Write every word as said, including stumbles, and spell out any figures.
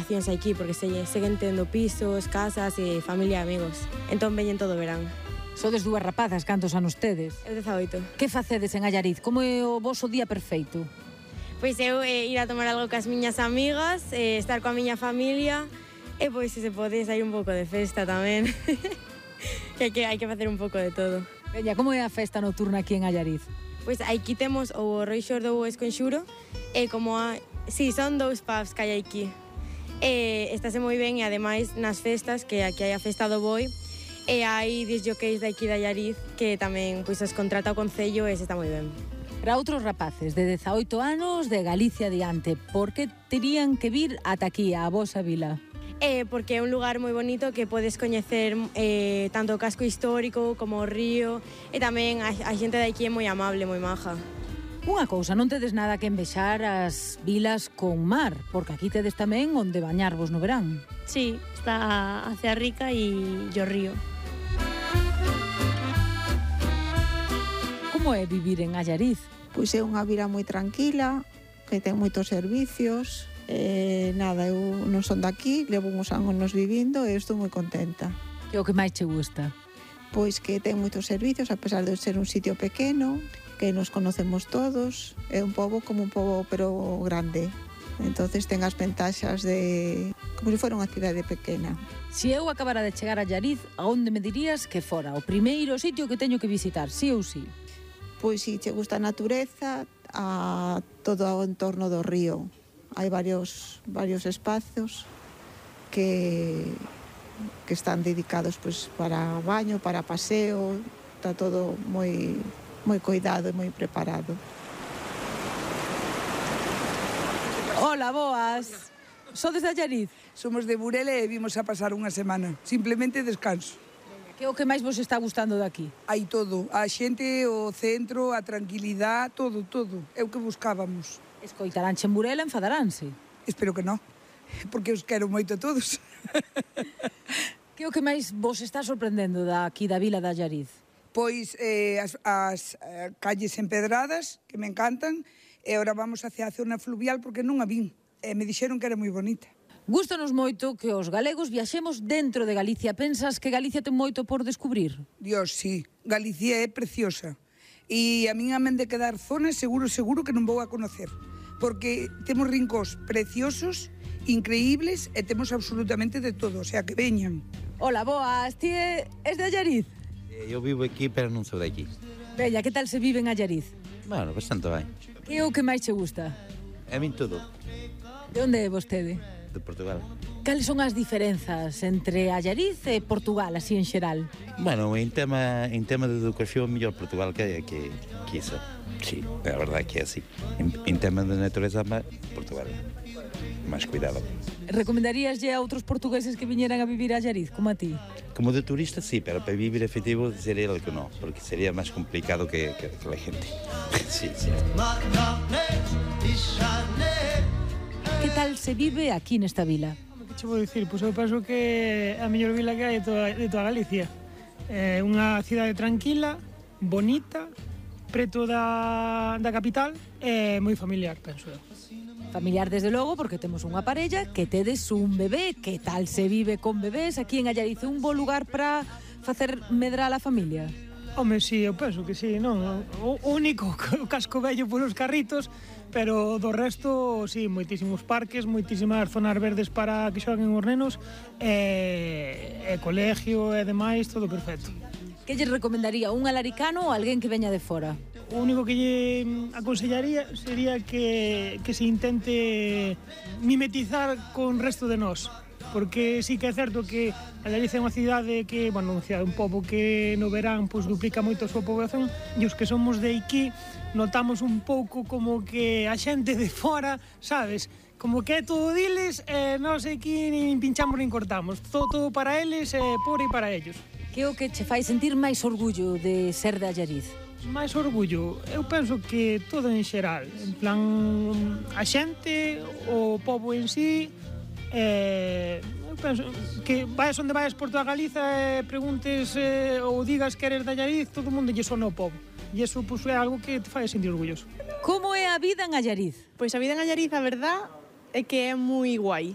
vacacións aquí, porque se, seguen tendo pisos, casas e familia e amigos. Entón veñen todo o verán. Sodes dúas rapazas, cantos anos tedes? Eu dezaoito. Que facedes en Allariz? Como é o voso día perfeito? Pois eu eh, ir a tomar algo cas miñas amigas, eh, estar coa miña familia e pois se se pode sair un pouco de festa tamén. que, hai que hai que facer un pouco de todo. Veña, como é a festa nocturna aquí en Allariz? Pois aquí temos o Roi Xordo Esconxuro e como a... Si, sí, son dous pubs que hai aquí. E estáse moi ben e ademais nas festas, que aquí hai a festa do boi, e hai disc jockeys de aquí de Allariz que tamén pois, os contrata o Concello e se está moi ben. Para outros rapaces de dezaoito anos de Galicia adiante, por que terían que vir ata aquí, a vosa vila? Eh, porque é un lugar moi bonito que podes coñecer eh, tanto o casco histórico como o río e tamén a, a xente de aquí é moi amable, moi maja. Unha cousa, non tedes nada que envexar as vilas con mar, porque aquí tedes tamén onde bañarvos no verán. Sí, está a Cea Rica e o río. Como é vivir en Allariz? Pois é unha vila moi tranquila, que ten moitos servicios. Eh, nada, eu non son daqui, levo uns anos vivindo e estou moi contenta. Que é o que máis che gusta? Pois que ten moitos servicios, a pesar de ser un sitio pequeno, que nos conocemos todos, é un pobo como un pobo pero grande. Entonces ten as ventaxas de como se fora unha cidade pequena. Se eu acabara de chegar a Allariz, a onde me dirías que fora o primeiro sitio que teño que visitar, sí ou sí? Pois si che gusta a natureza, a todo o entorno do río. Hai varios, varios espazos que, que están dedicados pues, para baño, para paseo, está todo moi, moi cuidado e moi preparado. Hola, boas. Sodes de Allariz? Somos de Burela e vimos a pasar unha semana. Simplemente descanso. Que é o que máis vos está gustando daqui? Hai todo. A xente, o centro, a tranquilidade, todo, todo. É o que buscábamos. Escoitaránche en Burela, enfadaránse? Espero que non, porque os quero moito a todos. Que é o que máis vos está sorprendendo daqui da vila de Allariz? Pois eh, as, as eh, calles empedradas, que me encantan, e agora vamos hacia a zona fluvial porque non a vin. E me dixeron que era moi bonita. Gústanos moito que os galegos viaxemos dentro de Galicia. Pensas que Galicia ten moito por descubrir? Dios, sí. Galicia é preciosa. E a min amen de quedar zonas seguro, seguro que non vou a conocer. Porque temos rincóns preciosos, increíbles, e temos absolutamente de todo, o sea, que veñan. Hola, boas, ti és de Allariz? Eu vivo aquí, pero non sou de aquí. Bella, que tal se vive en Allariz? Bueno, bastante ben. Que é o que máis che gusta? A min todo. De onde é vostede? De Portugal. Cales son as diferenzas entre Allariz e Portugal, así en xeral? Bueno, en tema, en tema de educación, mellor Portugal que, que, que isso. Sí, a verdade que é así. En, en tema de natureza, Portugal. Máis cuidado. Recomendaríaslle a outros portugueses que viñeran a vivir a Allariz, como a ti? Como de turista, sí, pero para vivir efectivo sería el que no, porque sería máis complicado que, que, que la gente. Sí, sí. Que tal se vive aquí nesta vila? Que che vou dicir? Pois eu penso que é a mellor vila que hai de toda, de toda Galicia. É unha cidade tranquila, bonita, preto da, da capital e moi familiar, penso eu. Familiar, desde logo, porque temos unha parella que tedes un bebé. Que tal se vive con bebés aquí en Allariz? Un bo lugar para facer medrar a familia? Home, sí, eu penso que sí, non? O único, o casco vello polos carritos, pero do resto, sí, moitísimos parques, moitísimas zonas verdes para que xoguen os nenos, e, e colegio e demais, todo perfecto. Que lle recomendaría un alaricano ou alguén que veña de fora? O único que lle aconsellaría sería que, que se intente mimetizar con o resto de nós. Porque sí que é certo que Allariz é unha cidade que, bueno, unha cidade, un pobo que no verán pois, duplica moito a súa poboación, e os que somos de aquí notamos un pouco como que a xente de fora, sabes, como que é todo diles, e nós aquí nin pinchamos nin cortamos, todo, todo para eles e por e para ellos. Que é o que che fai sentir máis orgullo de ser de Allariz? Máis orgullo, eu penso que todo en xeral, en plan, a xente, o pobo en sí. Eh, eu penso que vayas onde vayas por toda Galiza e preguntes eh, ou digas que eres de Allariz, todo o mundo lle sona o pobo, e iso pues, é algo que te fai sentir orgulloso. Como é a vida en Allariz? Pois a vida en Allariz, a verdad, é que é moi guai.